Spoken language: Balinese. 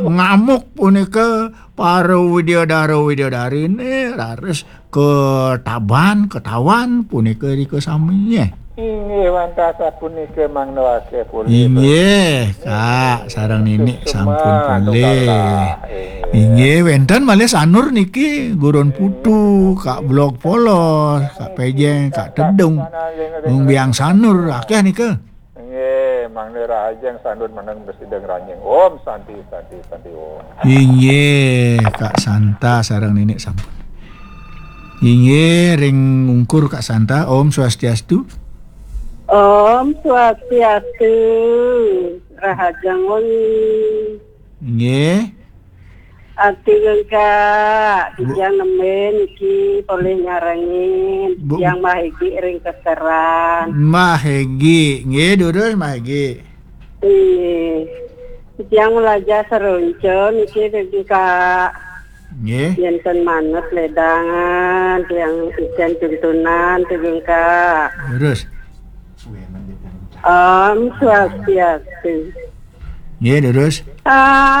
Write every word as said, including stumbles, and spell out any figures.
Pengamuk punika para widyadara widyadariné raris ketaban, ketawan punika rika sami. Inggih, wantah sapunika mangda akéh polih. Inggih, Kak, sareng Nini sampun polih. Inggih, wénten malih sanur niki, Gurun Putu, Kak Blog Polos, Kak Pejeng, Kak Tedung. Mung biang sanur akéh nika. Nggih, mangda rahajeng sanur meneng besideng ranjing. Om Santi, Santi, Santi Om. Inggih, Kak Santa sareng Nini sampun. Inggih, ring ungkur Kak Santa, Om Swastiastu. Om Swastiastu. Rahajeng wengi. Inggih. Ati Kak, Bu- titiang nembé niki polih nyarengin, Bu- titiang Mbah Egi ring Keseran. Mbah Egi, nggih, durus Mbah Egi. Nggih. Titiang melajah seronca niki, Kak. Nggih. Yén ten manut ledangan, tiang icén tuntunan, Kak. Durus. Om Swastiastu. Nggih, durus. Ah.